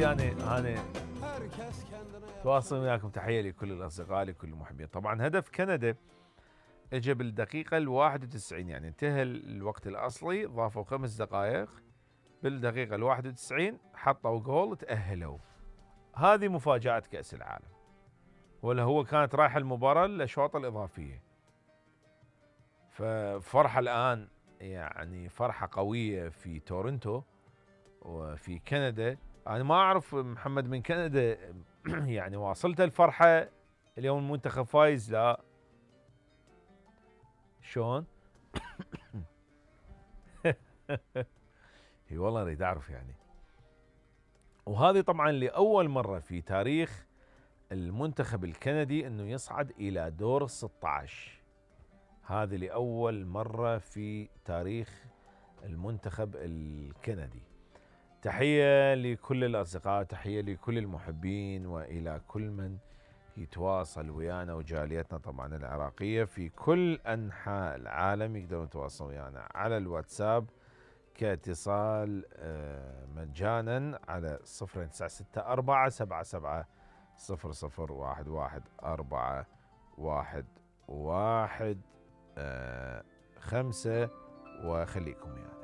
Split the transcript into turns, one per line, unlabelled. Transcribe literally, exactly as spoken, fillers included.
يعني أنا تواصل وياكم، تحية لكل الأصدقاء لكل المحبين. طبعا هدف كندا اجى بالدقيقة الواحد وتسعين، يعني انتهى الوقت الأصلي، ضافوا خمس دقائق بالدقيقة الواحد وتسعين حطوا جول تأهلوا. هذه مفاجأة كأس العالم، ولا هو كانت رايحة المباراة للأشواط الإضافية. ففرحة الآن، يعني فرحة قوية في تورنتو وفي كندا. أنا ما أعرف محمد من كندا يعني واصلت الفرحة اليوم المنتخب فايز؟ لا شلون؟ اي والله اريد اعرف يعني. وهذه طبعا لأول مرة في تاريخ المنتخب الكندي انه يصعد الى دور ستة عشر. هذه لأول مرة في تاريخ المنتخب الكندي. تحية لكل الأصدقاء، تحية لكل المحبين، وإلى كل من يتواصل ويانا وجاليتنا طبعا العراقية في كل أنحاء العالم. يقدرون يتواصلوا ويانا على الواتساب كاتصال مجانا على صفر تسعة ستة أربعة سبعة سبعة صفر صفر واحد واحد أربعة واحد واحد خمسة، وخليكم ويانا.